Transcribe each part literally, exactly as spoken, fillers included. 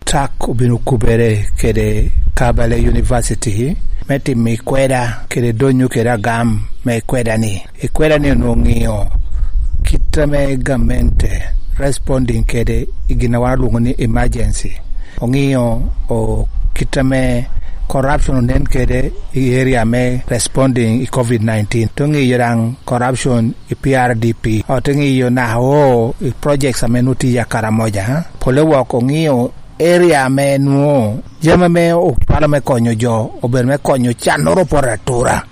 Tak obino kubere kede Kabaale University me timo ikweda kede donyo kede agam me ikweda-ni. Ikweda-ni onwoŋo ŋiyo kit ame gamente responding kede i gin a wan olwoŋo ni emergency. Oŋiyo o, kit ame corruption onen kede i area me responding i covid nineteen. Te ŋiyo daŋ corruption i P R D P. Ote ŋiyo naka o i projects ame nwoŋo tye i Karamoja, ha? Pole wok oŋiyo area ame nwoŋo jami ame ocwalo me konyo jo obedo me konyo cannoro opoto atura.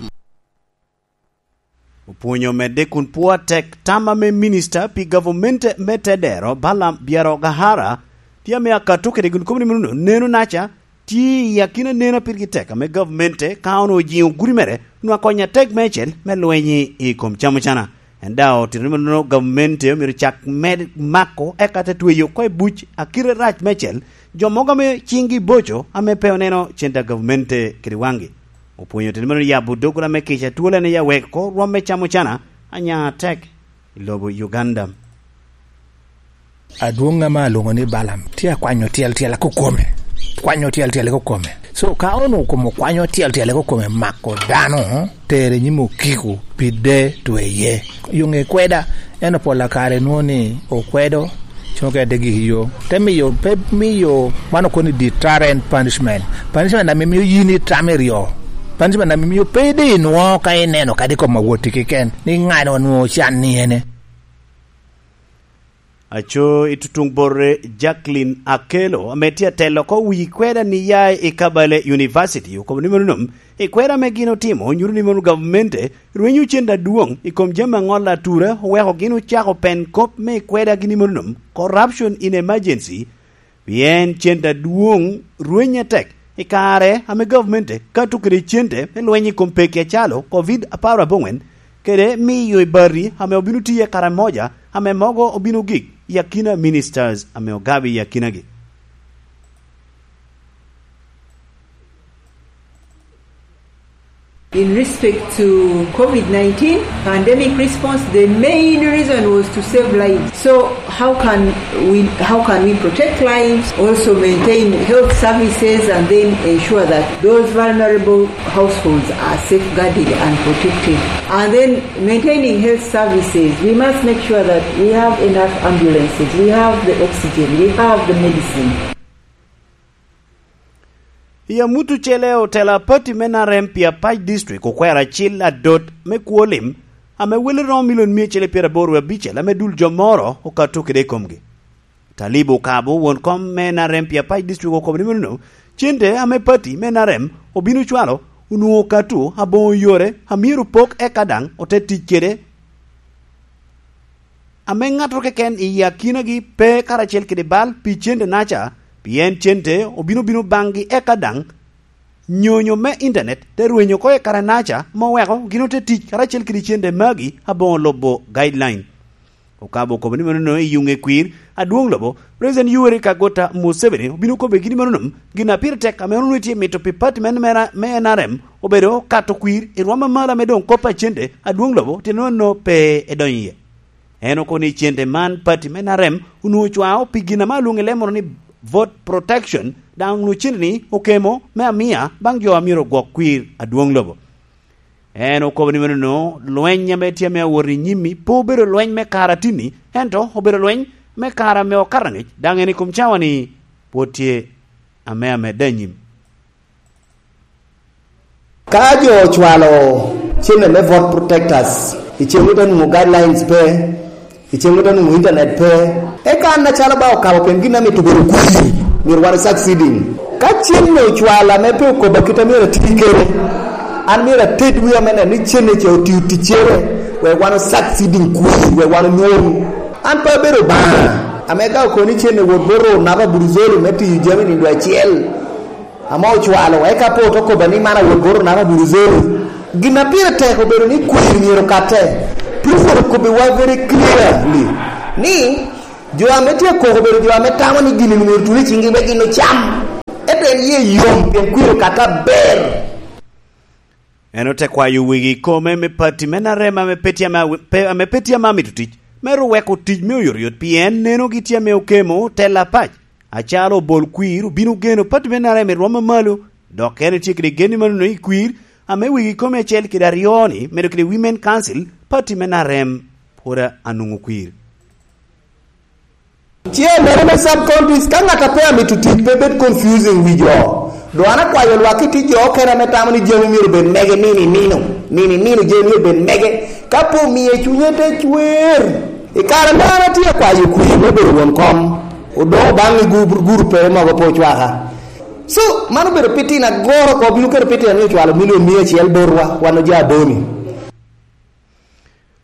Opwonyo medde kun pwo atek tam ame minista pi gavamente me Tedero, Balaam Byarogahara, tye ame akato kede gin kop ni meno neno naca tye i akina neno a pirgi tek ame gavamente ka onwoŋo ojiŋo gudi mere onwoŋo akonyo atek meicel me lweny i kom camocana. En daŋ otito ni meno gavamente omyero cak med mako eka te tweyo oko i buc a kite rac meicel jo mogo ame ciŋgi boco ame pe oneno cente a gavamente kede waŋgi. Opwonyo otito ni meno yabo doggola me kica twol en i aweko rwom me camocana anya atek i lobo Uganda. Adwoŋ ame alwoŋo ni Balaam tye akwanyo tyel tyel kukome. Kwanyo tyel tyel kukome. So, ka onwoŋo kom okwanyo tyel tyel kukome mako dano, tere nyim okiko, pide tweye. Yo ŋe kweda, en opolla kare nwoŋo ni okwedo, coŋ kede gik yo. Te miyo, pe miyo, man okono ni deterrent punishment. Punishment ame mio yin itamo i ryo. Punishment ame mio pe idino ka ineno kadi kom awoti keken, ni ŋano nwoŋo can ni ene. Aco i tutuŋ bote Jacqueline Akello, ame tye atelo oko wi kweda ni ya i Kabaale University, okobo ni meno nom, i kweda ame gin otimo, nyuto ni meno gavmente rwenyo cente adwoŋ i kom jami aŋola atura, oweko gin ocako pen kop me i kweda gin i meno nom, corruption in emergency, pien cente adwoŋ rwenye tek i kare ame gavmente kato kede cente me lweny i kom peki acalo covid apar aboŋwen, kede miyo i bati ame obino tiye kare moja ame mogo obino gik i akina ministers ame ogabo i akinagi. In respect to covid nineteen pandemic response, the main reason was to save lives. So how can we, how can we protect lives, also maintain health services, and then ensure that those vulnerable households are safeguarded and protected? And then maintaining health services, we must make sure that we have enough ambulances, we have the oxygen, we have the medicine. I amut ocele, otela pati me N R M pi Apac District okwero acil adot me kwo lim ame wele romo milion mia acel pyeraboro abicel ame dul jo moro okato kede i komgi. Talib Okabo, won kom me N R M pi Apac District, okobo ni meno cente ame pati me N R M obino cwalo onwoŋo okato aboŋo yore a myero opok eka daŋ ote tic kede ame ŋattoro keken i akinagi pe karacel kede bal pi cente naca, pien cente obino bino baŋgi eka daŋ nyonyo me intanet te rwenyo oko i kare naca, ma oweko gin ote tic karacel kede cente magi aboŋo lubo guideline. Okabo okobo ni meno i yuŋe kwir adwoŋ lobo, President Yoweri Kaguta Museveni obino kobbe gin meno nom, gin a pire tek ame onwoŋo tye mito pi pati me, me, me N R M obedo kato kwir i rwom amalo ame doŋ kop a cente adwoŋ lobo tye nono pe edonyo iye. En okobo ni cente man pati me N R M onwoŋo cwao pi gin ame alwoŋo i leb moro ni vote protection, daŋ onwoŋo cente ni okemo me amia baŋ jo a myero ogwok kwir adwoŋ lobo. En okobo ni meno lweny ame tye ame awot i nyim-mi pe obedo lweny me kare atinni, ento obedo lweny me kare ame okato angec, daŋ en i kom cawa-ni pwod tye ame amedde anyim. Ka jo ocwalo cene me vote protectors, i cen wot anwoŋo guidelines pe, i cen wot anwoŋo internet pe, eka an acalo ba okabo pien gin amito bedo kwir, myero wan succeeding. Ka cen ocwalo ame pe okobo kit a myero ati kede, an myero ated wi ame neno ni cene ce otio ticcere, wek wan succeeding kwir, wek wan onwoŋ. An pe abedo Obaŋa ame ka okobo ni cene wot bot Runa pa Buruzoli me tiyo jami nindo acel, ame ocwalo, eka pe ote kobba ni man awot bot Runa pa Buruzoli. Gin a pire tek obedo ni kwir myero okatte. President okobbiwa very clearly ni jo ame tye koko obedo jo ame tamo ni gin-ni myero tul i ciŋgi wek gin ocam. Ento en ye yom pien kwir okatte aber. En ote kwayo wegi i kome me pati me N R M ame pe tye ame awi-, pe, ame pe tye ame amito tic, me ru weko tic me oyotoyot, pien nenogi tye ame okemo tela pac. Acalo obol kwir obino geno pati me N R M i rwom amalo, dok en etye kede gen i manono i kwir ame wigi kome acel kede aryo-ni, medo kede Women Council, pati me N R M pwod anwoŋo kwir. Chairman me sub counties, ka ŋat a pe amito tic pe bed confusing wi jo. Dong an akwayo lwak i tic jo okene ame tamo ni jami myero bed mege nino i nino, nino i nino jami myero bed mege. Ka pe omie cunye te cwer, i kare ame an atye akwayo kwir me bedo won kom, odoko baŋ i gur-, gurupere mogo pe ocwaka. So, man obedo pitino agoro oko, obino keto pitino ni ocwalo milion mia acel botwa, wan oja Boni.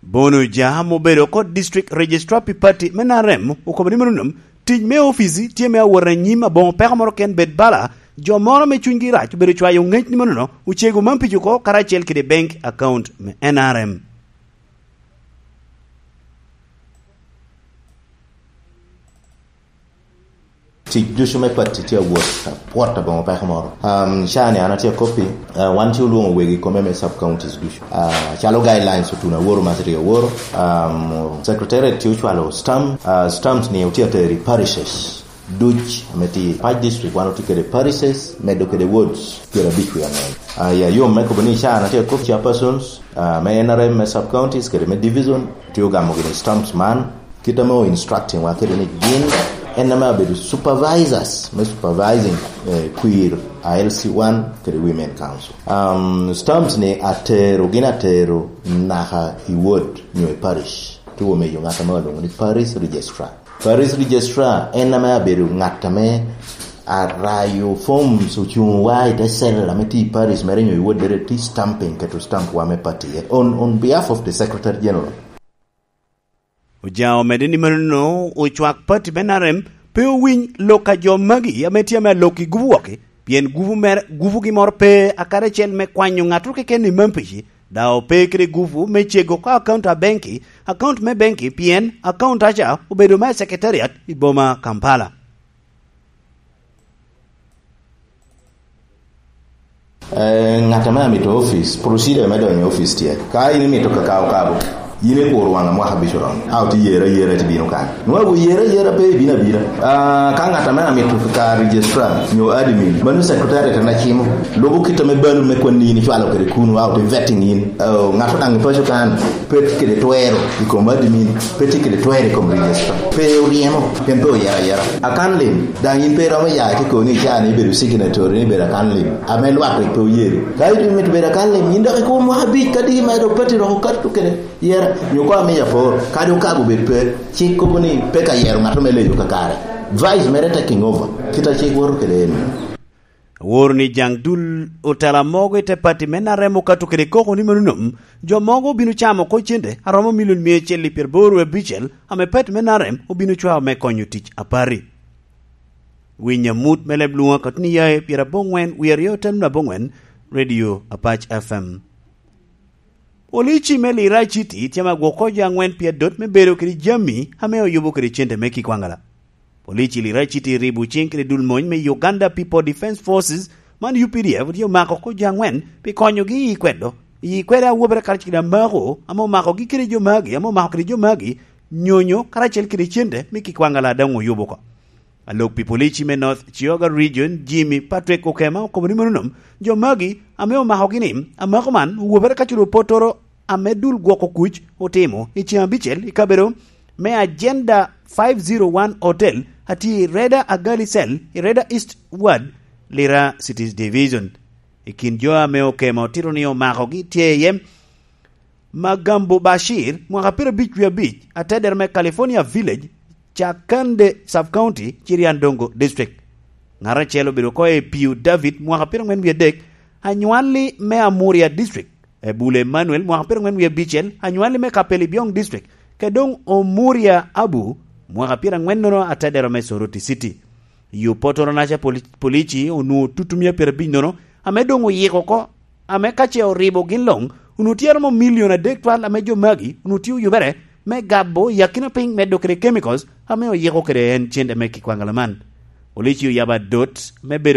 Bono Oja ame obedo oko District Registrar pi Party me N R M okobo ni mano nom, tic me opici tye me awot anyim aboŋo peko moro ken bed bala, jo moro ame cunygi rac obedo cwayo ŋec ni manono ocego man pic oko karacel kede bank account me N R M. Tic ducu me pati tye awot, apwot aboŋo peko moro. Um, ca-ni an atye akoppi, uh, wan ci olwoŋo wegi kome me sub counties ducu. Uh, calo guidelines otuno aworo ma tye aworo, um, secretariat tye ocwalo stamp, uh, stamps ni otye atero i parishes duc ame tye i pac district, wan otye kede parishes, medo kede wards pyerabic wie angwen. Uh, ya, yom me kobo ni ca an atye akop chairpersons, uh, me N R M me sub counties kede me division, tye ogamo gini stamps man, kit ame o instructing wa kede ni gin en ame abedo supervisors me supervising, eh, kwir a L C one kede Women Council. Um, stamps ni atero, gin atero naka i ward nyo i parish. Tuwo meyo ŋat ame olwoŋo ni parish registrar. Parish registrar en ame abedo ŋat ame arayo forms ocuŋ wa i te cell ame tye i parish mere nyo i ward mere tye stamping, keto stamp wa me party on, on behalf of the secretary general. Oja omedde ni manono ocwak pati me N R M pe owiny lok a jo magi ame tye ame alok i gupu wok-ki, pien gupu mere, gupugi moro pe akadi acel me kwanyo ŋattoro keken i Mampici, dok ope kede gupu me cego oko akaunta a benki, akaunta me benki, pien akaunta ca obedo me secretariat i boma Kampala. Eh, ŋat ame amito office, procedure me donyo office tye. Ka in imito kakao kabo, in ikuro waŋ mwaka abic oromo. A otye yera yera ti bino kan. Nwa wu yera yera pe ibino abina. Ah, ka ŋat ame amito ka registrar nyo admin, mano secretary te na cimo. Lubo kit ame balo me kwanni in icwalo kede kunu, a otye vetting in. Oh, ŋat odaŋ i paco kan. Pe tye kede twero i kom admin, pe tye kede twero i kom register. Pe oryemo, pien pe oyero ayera. Akan lim, daŋ in pe iromo ya ki koni ica ni ibedo signatory ni ibedo akan lim. Ame lwak rik pe oyero. Ka in imito bedo akan lim, in dok ikubo mwaka abic, kadi ma dok pati roko kato kede yera. Nyo ko amiyo apor, kadi okago bed pe, cik kobo ni pe ka yero ŋat me leyo kakare. Vice mere taking over, kit a cik woto kede en. Aworo ni jaŋ dul otela mogo i te pati me N R M okato kede koko ni mano nom, jo mogo obino camo oko cente a romo milion mia acel i pyeraboro wie abicel ame pati me N R M obino cwao me konyo tic a pati. Winy amut me leb lwoŋo akato ni yaye pyeraboŋwen wie aryo otel me aboŋwen, Radio Apac F M. Polici me Lira City tye ame agwoko jo aŋwen pi adot me bedo kede jami ame oyubo kede cente me kikwaŋala. Polici Lira City ribo ciŋ kede dul mony me Uganda People Defence Forces, man U P D F, tye omako oko jo aŋwen pi konyogi i kwedo, i kwede awobere karacel kede amako ame omakogi kede jo magi, ame omako kede jo magi, nyonyo karacel kede cente me kikwaŋala daŋ oyubo oko. Alok pi polici me North Kyoga Region, Jimmy Patrick Okema, okobo ni mano nom, jo magi ame omakogi ni, amako man owobere ka culo pottoro ame dul gwoko kuc otimo i ceng abicel i kabedo me Agenda five zero one Hotel, atye i Reda Agali Cell, i Reda East Ward, Lira Cities Division. I kin jo ame Okema otito ni omakogi tye iye Magambo Bashir, mwaka pyerabic wie abic, atedero me California Village, Chakande Sub-County, Chiriandongo District. Ŋat acel obedo oko i Piu David, mwaka pyeraŋwen wie adek, anywalli me Amuria District, Ebule Emmanuel, mwaka pyeraŋwen wie abicel, anywalli me Kapeli Biong District, kede doŋ Omuria Abu, mwaka pyeraŋwennono, atedero me Soroti City. I opotoro-naca, poli-, polici onwoŋo tutumia pyerabic nono, ame doŋ oyiko oko, ame ka ce oribo gin luŋ, onwoŋo tye romo milion adek twal ame jo magi onwoŋo tye oyubere me gabo i akina piny medo kede chemicals ame oyiko kede en cente me kikwaŋ alaman. Polici oyabo adot me bedo